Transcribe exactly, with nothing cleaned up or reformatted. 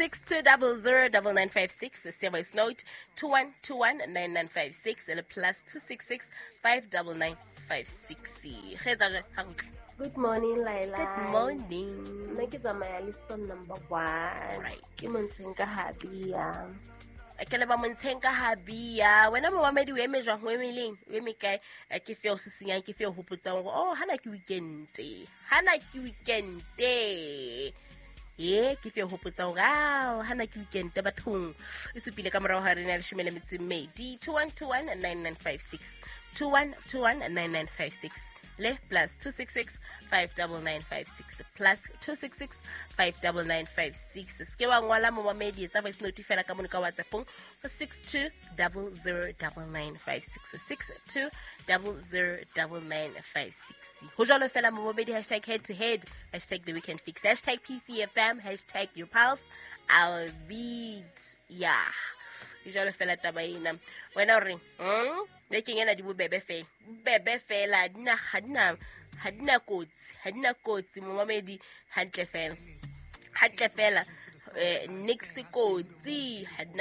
Six two double zero double nine five six. Se voice note two one two one nine nine five six le plus two six six five double nine five six. Ge etsa jwang? Ha re utlwe. Good morning, Laila. Good morning. Nna ke tsamaya le son number one. Right. Ke montsheng ka habia. Ke leba montsheng ka habia. Wena momamedi o eme jwang? O eme leng? O eme kae? Eh, Ke fe o sisinyang, ke fe o hopotsang hore oh hana ke weekend. Hana ke weekend. Ye, ke fe o hopotsang hore ah hana ke weekend bathong. E supile ka morao ha re na leshome le metso e mmedi. two one two one nine nine five six. two one two one nine nine five six. Le plus two six six five double nine five six plus two six six five double nine five six. Se ke wa ngola momamedi, etsa voice note fela ka mono ka WhatsAppong ho six two double zero double nine five six six two double zero double nine five six. Ho jwalo fela momamedi, hashtag head to head, hashtag the weekend fix, hashtag P C F M, hashtag your pulse, our beat. Yeah. Ho jwalo fela taba ena. Wena o reng? Hmm? Bekeng ena di bobebe fela. Bobebe fela, ha di na, ha di na, ha di na kotsi, ha di na kotsi momamedi, hantle fela. Hantle fela. Eh, nix kotsi, ha di na